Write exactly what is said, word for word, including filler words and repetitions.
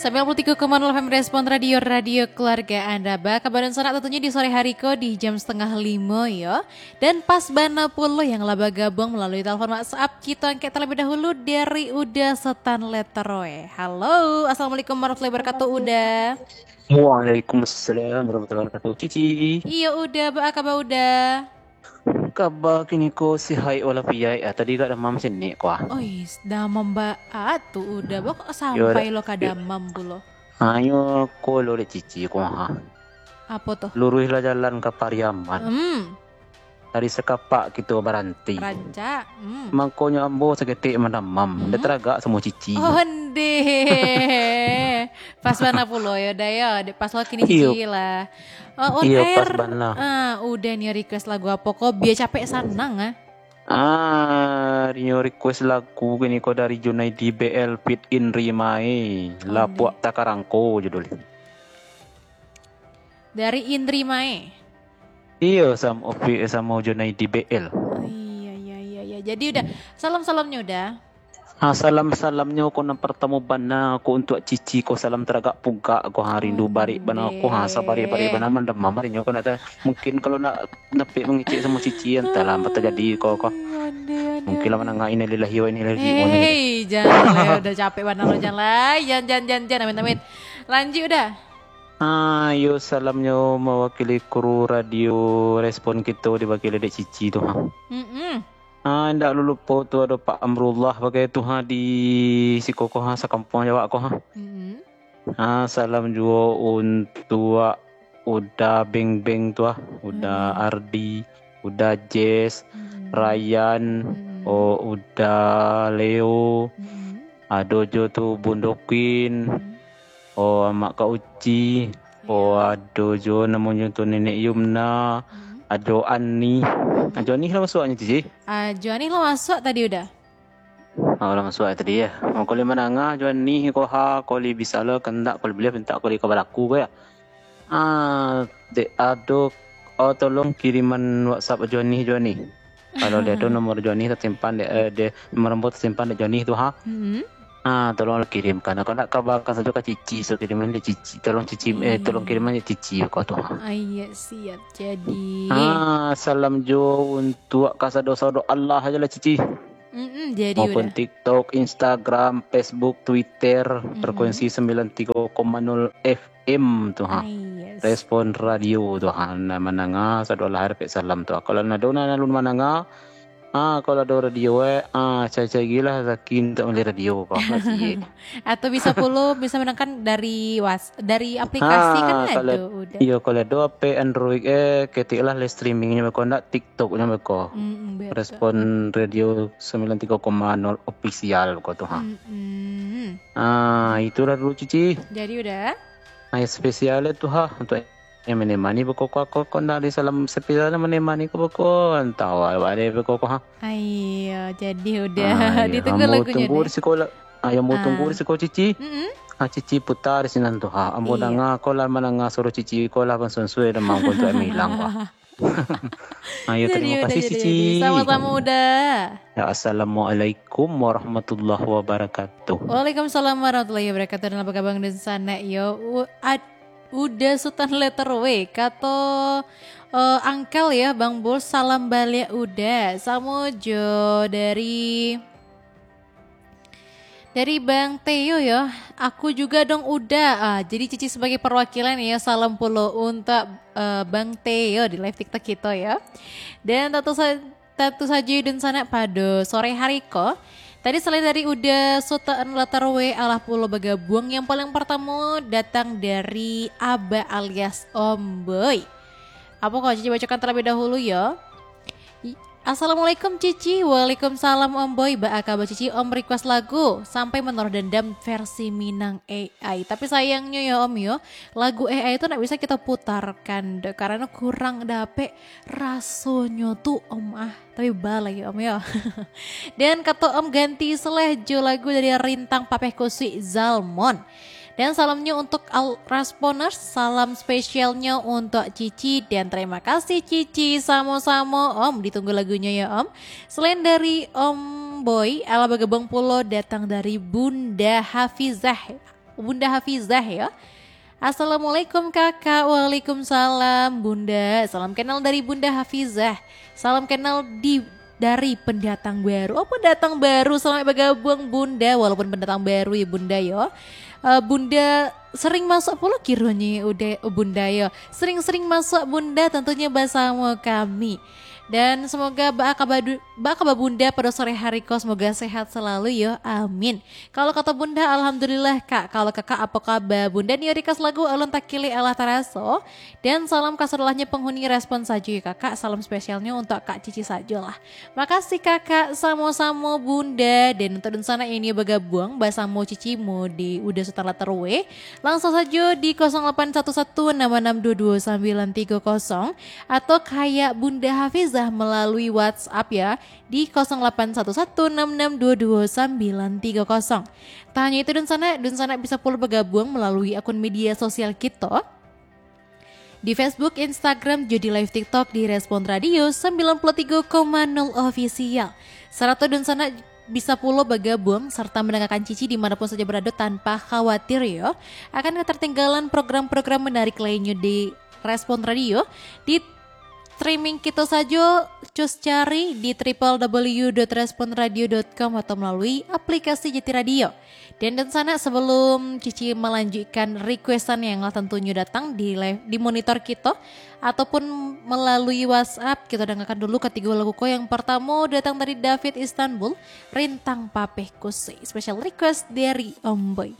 Sembilan puluh tiga koma nol F M Respon Radio, radio keluarga Anda. Ba, kabar dunsanak tentunyo di sore hari ko di jam setengah limo yo. Dan pas bana pulo yang lah bagabuang malalui telepon WhatsApp. Kito angkek terlebih dahulu dari Uda Setan Letter W. Halo, assalamualaikum warahmatullahi wabarakatuh, Uda. Waalaikumsalam warahmatullahi wabarakatuh, Cici. Iyo, Uda, ba kabar, Uda? Kaba kini ko sihaik walafiaik, ah, tadi agak damam sinek ko, ah. Oi, damam baat tu, Uda. Ba kok sampai lo ka damam pulo? Hanyo ko lo dek Cici ko, ha. Apo tu? Luruihlah jalan ka Pariaman. Hmm. Dari Sakapak kito baranti. Rancak. Hmm. Mangkonyo ambo saketek mandamam. Hmm. Ndak taragak samo Cici. Ondeh. Pas bana pulo yo, Da, yo. Dek pas lo kini Cici lah. Oh, on air. Iyo, pas bana. Ah, Uda nio request lagu apo ko? Bia capek sanang, ah. Ah, nio request lagu kini ko dari Junaidi B L feat Indri Mae. Ondeh. Lapuak Takarangko judul. Dari Indri Mae. Iyo, sam-, opi-, samo Junaidi B L. Oh, iya, iya, iya, iya. Jadi Uda, salam-salamnyo Uda. Ha, salam-salamnyo ko nan partamo bana ko untuak Cici ko, salam taragak pugak ko, ha, rindu barik bana ko, ha, sabarik-barik bana mandamam arinyo ko, ndak ta-, mungkin kalau ndak dapek mangecek samo Cici, antahlah apo tajadi ko, ko. Ondeh, ondeh, ondeh. Mungkin lah mandanga innalillahi wa inna ilaihi raji'un. Hei, jan lah, Uda capek bana lo, jan lah. Jan, jan, jan, jan, amit, amit. Lanjuik Uda. Ah, iyo, salamnyo mawakili kru radio Respon kito diwakili dek Cici tu, ha. Mm-mm. Ah, indak lulupo tu ado Pak Amrullah bagai tu, ha, di siko ko, ha, sakampuang jo awak ko, ha. Mm-mm. Ah, salam juo untuak Uda Beng Beng tu, ha, Uda Ardi, Uda Jess, Ryan, oh, Uda Leo, ado jo tu Bundo Queen, oh, Amak Kak Uci, oh, ado jo namonyo tu Nenek Yumna, ado Ani. Ah, jo Ani lah masuaknyo tu, Ci? Ah, jo Ani lah masuak tadi Uda. Ah, lah masuak tadi, ya. Oh, kuli mandanga jo Ani ko, ha, kuli bisa lo, kandak kuli buliah, mintak kuli ka balaku ko, ya. Ah, dek ado, oh, tolong kiriman WhatsApp Joni, Joni. Kalau dia tu nomor Joni tersimpan dek, eh, dek, nomor ambo tersimpan dek Joni tu, ha. Mm-hmm. Ah, tolong kirimkan. Kalau nak kabarkan sajo ka Cici, so kiriman dek Cici. Tolong Cici, eh, tolong kiriman dek Cici ko tu, ha. Ah, iya, siap. Jadi. Ah, salam jo untuak kasado-sado Allah aja lah, Cici. Mm-mm, jadi maupun Uda. TikTok, Instagram, Facebook, Twitter, mm-mm, frekuensi sembilan tiga koma nol F M tu, ha. Ah, yes. Respon Radio tu, ha. Nah, mandanga, sadolah arepek salam tu. Kalau nado nan alun mandanga, ah, kalau ado radio, eh, ah, cari-carilah Zaki untuk mali radio, kau, Zaki. Atau bisa pulo, bisa mandangkan dari was-, dari aplikasi kan ado, Uda. Iyo, kalau ado H P Android, eh, ketiklah live streamingnyo beko, ndak TikToknyo beko. Mm-mm, betul. Respon Radio sembilan tiga koma nol Official beko tu, ha. Mm-mm. Ah, itulah dulu, Cici. Jadi Uda. Ah, spesial tu, ha, untuk yang menemani beko ko, ko, ko ndak di salam spesial menemani ko beko, antah awak deh beko ko, ha. Ayo, jadi Uda. Ah, iya. Ditunggu lagunyo deh. Ambo tunggu di siko lah. Ah, yang mau tunggu di siko, Cici. Mm-mm. Ah, Cici putar di sinan tu, ha. Ambo danga ko lah, mandanga suaro Cici ko lah, bansunsui dah mangko tu milang, ha. Ayo, terima kasih, Cici. Sama-sama, Uda. Ya, assalamualaikum warahmatullahi wabarakatuh. Waalaikumsalam warahmatullahi wabarakatuh. Dan apa kabar dunsanak yo? U-, ad-, Uda Sutan Letter W. Kato, eh, Angkel ya, Bang Bul, salam baliak Uda. Samo jo dari Dari Bang Teo yo, aku juga dong Uda. Ah, jadi Cici sebagai perwakilan yo, salam pulo untuk, eh, Bang Teo di live TikTok kito yo. Dan tentu sa-, tentu sajo dunsanak pado sore hari ko. Tadi selain dari Uda Sutan Letter W, alah pulo bagabuang yang paling pertamo datang dari Aba alias Om Boy. Apo ko Cici bacokan terlebih dahulu yo. I-, Assalamualaikum Cici. Waalaikumsalam Om Boy. Baa kaba Cici? Om request lagu Sampai Menaruh Dendam versi Minang A I. Tapi sayangnyo yo Om yo, lagu A I tu ndak bisa kito putarkan doh, karano kurang dapek rasonyo tu Om ah. Tapi ba lagi Om yo. Dan kato Om ganti seleh jo lagu dari Rintang Papeh Kusuik Zalmon. Dan salamnyo untuk al-, Rasponers, salam spesialnyo untuk Cici, dan terima kasih Cici, samo-samo Om, ditunggu lagunyo yo Om. Selain dari Om Boy, alah bagabuang pulo datang dari Bunda Hafizah. Bunda Hafizah ya. Assalamualaikum kakak. Waalaikumsalam bunda. Salam kenal dari Bunda Hafizah. Salam kenal di dari pendatang baru. Oh, pendatang baru, selamat bergabung bunda. Walaupun pendatang baru ya bunda yo. Eh, bunda sering masuk pulo kironyo udah bunda yo. Sering-sering masuk bunda tentunya bersama kami. Dan semoga baa kaba bunda pada sore hari ko, semoga sehat selalu yo. Amin. Kalau kata bunda, alhamdulillah kak. Kalau kakak apa kabar? Bunda ni request lagu Alun Takilek Alah Taraso. Dan salam kasadalah penghuni Respon sajo ya kakak. Salam spesialnyo untuk Kak Cici sajolah. Makasih kakak, samo-samo bunda. Dan untuk dunsanak yang ingin bergabung bersama Cici Mode Uda Sultan Latarwe, langsung saja di kosong lapan satu satu enam enam dua dua sembilan tiga kosong atau kayak Bunda Hafizah melalui WhatsApp ya di kosong lapan satu satu enam enam dua dua sembilan tiga kosong. Tak hanya itu dunsanak, dunsanak bisa pula bergabung melalui akun media sosial kita di Facebook, Instagram, jo di live TikTok di Respon Radio sembilan puluh tiga koma nol Official. Sarato dunsanak bisa pulo bergabung serta mendengarkan Cici di mana pun saja berada tanpa khawatir yo. Akan ketertinggalan program-program menarik lainnya di Respon Radio di streaming kita sajo, cus cari di triple w dot respon radio dot com atau melalui aplikasi Jati Radio. Dan dunsanak, sebelum Cici melanjutkan requestan yang lah tentunyo datang di live, di monitor kita ataupun melalui WhatsApp, kita dengarkan dulu katigo lagu ko. Yang pertama datang dari David Istanbul, Rintang Papeh Kuse, special request dari Om Boy.